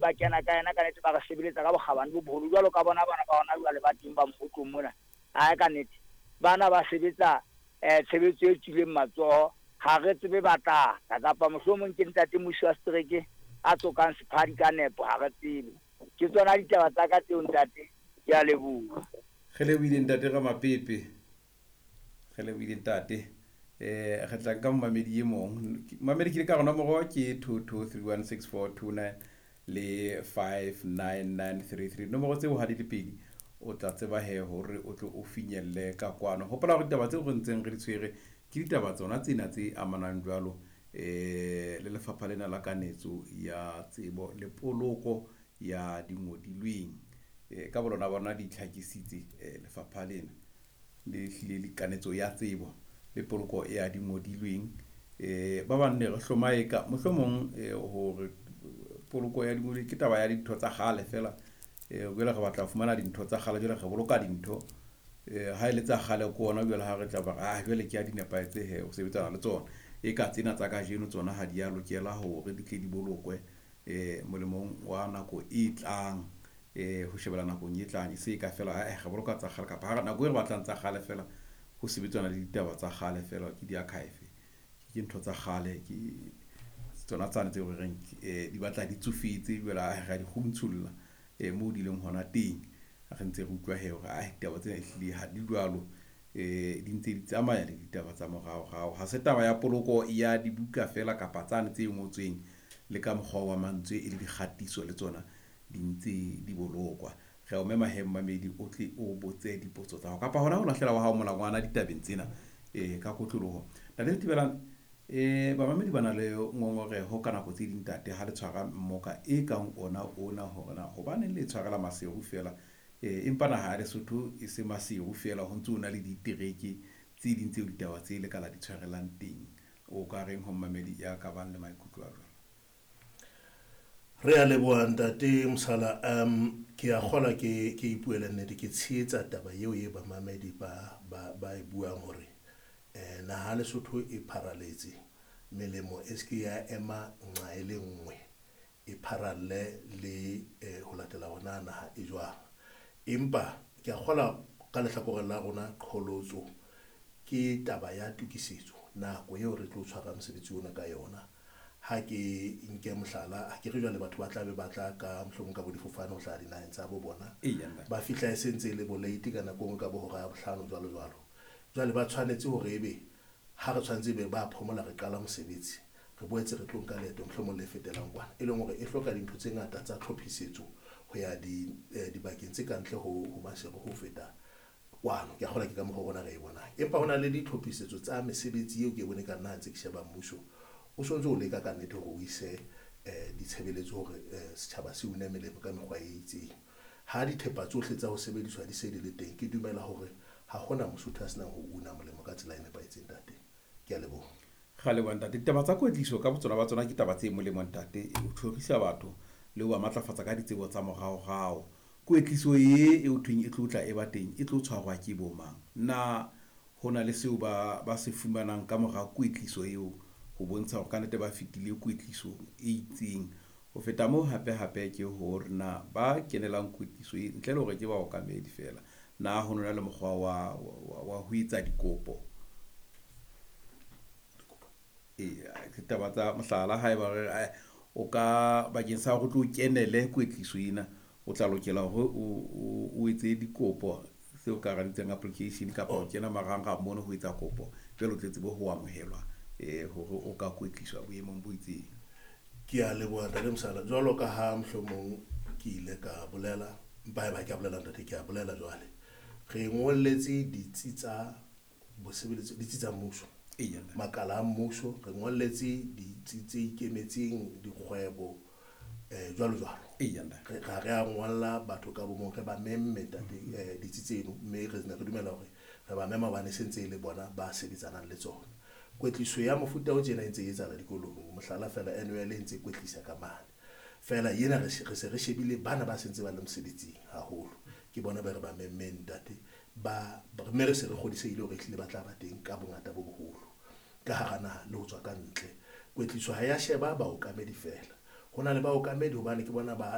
Ba kena ka yena ka nete, ba re sebeletsa ka bokgabane bo boholo jwalo ka bona bana ba hona jwale ba teng ba mmotlong mona. Ae ka nete bana ba sebetsa tshebetso e tswileng matsoho, ha re tsebe ba tla tla kapa mohlomong ke ntate musi wa setereke a tsokang sephadi ka nepo, ha re tsebe. Ke tsona ditaba tsa ka tseo ntate, ke a leboha. Re lebohile ntate Ramapepe, re lebohile ntate. Re tla nka momamedi e mong. Momamedi ke le ka rona nomoro ke 22316429 le 59933. Nomoro tseo ha di le pedi o tla tseba he hore o tlo o finyelle ka kwano. Hopola hore ditaba tseo re ntseng re di tshwere ke ditaba tsona tsena tse amanang jwalo le lefapha lena la kanetso ya tsebo le poloko ya dingodilweng. Ka bolona bona di itlhakisitse lefapha lena le hlile le kanetso ya tsebo le poloko ya dingodilweng. Ba bang ne re hlomae ka mohlomong hore poloko ya dingodilweng ke taba ya dintho tsa kgale fela. Jwale re batla ho fumana dintho tsa kgale, jwale re boloka dintho ha e le tsa kgale ke ona jwale ha re tla ba ah jwale ke a di nepahetse he ho sebetsana le tsona. E ka tsena tsa kajeno tsona ha di a lokela hore di tle di bolokwe molemong wa nako e tlang, ho shebela nakong e tlang, e se ka fela re boloka tsa kgale kapa ha nako e re batlang tsa kgale fela ho sebetsana le ditaba tsa kgale fela ke di-archive, ke ntho tsa kgale, ke tsona tsane tseo re reng di batla di tsofetse jwale re a di kguntsholla moo di leng hona teng. Re ntse re utlwa he hore ditaba tsena ehlile ha di jwalo, di ntse di tsamaya le ditaba tsa moraorao. Ha se taba ya poloko ya dibuka fela kapa tsane tse ngotsweng le ka mokgwa wa mantswe e le dikgatiso le tsona di ntse di bolokwa. Re a o mema he mmamedi o tle o botse dipotso tsa hao kapa hona ho lahlela wa hao molangwana ditabeng tsena ka kotloloho. Ntate Thibelang, bamamedi ba na le ngongoreho ka nako tse ding ntate ha le tshwara mmoka e kang ona ona hore na hobaneng le tshwarela Maseru fela, empa naha ya Lesotho e se Maseru fela, ho ntso ho na le ditereke tse ding tseo ditaba tse le ka la di tshwarelang teng. O ka reng ho mmamedi ya ka bang le maikutlo a jwalo? Re a leboha ntate Mosala. Ke a kgola ke ipuele nnete, ke tshehetsa taba eo e bamamedi ba e buang hore naha Lesotho e pharaletse, melemo e se ya ema nqa e le nngwe, e pharalle le ho latela hona naha e jwang. Empa ke a kgola ka lehlakoreng la rona qholotso ke taba ya tokisetso, nako eo re tlo tshwara mosebetsi ona ka yona. Ha ke nke mohlala, ha ke re jwale batho ba tla be ba tla ka mohlomong ka bo difofane ho hlaha dinaheng tsa bo bona, ba fihla e sentse e le bo late ka nako e nngwe ka bo hora ya bohlano jwalo jwalo. Jwale ba tshwanetse hore ebe ha re tshwanetse be ba phomola re qala mosebetsi, re boetse re tlo nka leeto mohlomong le fetelang kwana, e leng hore e hloka dintho tse ngata tsa tlhophisetso ho ya dibakeng tse kantle ho Maseru ho feta kwano. Ke a kgolwa ke ka mokgwa rona re e bonang, empa ho na le ditlhophisetso tsa mesebetsi eo ke e bone ka nna ha ntse ke sheba mmuso o sontso o leka ka nnete hore o ise ditshebeletso hore setjhaba se une melemo ka mekgwa e itseng. Ha dithepa tsohle tsa ho sebediswa di se di le teng, ke dumela hore ha hona Mosotho a senang ho una molemo ka tsela e nepahetseng ntate. Ke a leboha. Ra leboha ntate. Ditaba tsa kwetliso ka botsona ba tsona ke taba tse molemo ntate, o tjhorisa batho le ho ba matlafatsa ka ditsebo tsa moraorao. Kwetliso e o thweng e tlo tla e ba teng, e tlo tshwarwa ke bo mang? Na ho na le seo ba se fumanang ka mora kwetliso eo ho bontsha hore ka nnete ba fetile kwetlisong e itseng? Ho feta moo hape hape ke hore na ba kenelang kwetliso e ntle le hore ke baokamedi fela, na ho na le mokgwa wa ho etsa dikopo? Ke taba tsa mohlala, haeba re o ka bakeng sa hore o tlo kenele kwetliso ena, o tla lokela hore o etse dikopo seo ka ra bitsang application kapa o kena marangrang mono ho etsa kopo, jwale o tle tsebe ho amohelwa hore o ka kwetliswa boemong bo itseng. Ke a leboha ntate Mosala. Jwalo ka ha mohlomong ke ile ka bolela, empa haeba ke a bolela ntate, ke a bolela jwale. Re ngolletse ditsi tsa bosebeletsi, ditsi tsa mmuso, makala a mmuso, re ngolletse ditsi tse ikemetseng, dikgwebo, jwalo jwalo. Re re a ngolla batho ka bomong, re ba memme ntate ditsi tseno, mme re ne re dumela hore re ba mema hobane se ntse e le bona ba sebetsanang le tsona. Kwetliso ya mofuta o tjena e ntse e etsahala dikolong, mohlala fela NUL e ntse e kwetlisa ka mane. Fela yena re se re shebile bana ba sentse ba le mosebetsing haholo, ke bona ba re ba memmeng ntate, ba mme re se re kgodisehile hore ehlile ba tla ba teng ka bongata bo boholo ka hara naha le ho tswa ka ntle. Kwetliso ha ya sheba baokamedi fela, ho na le baokamedi hobane ke bona ba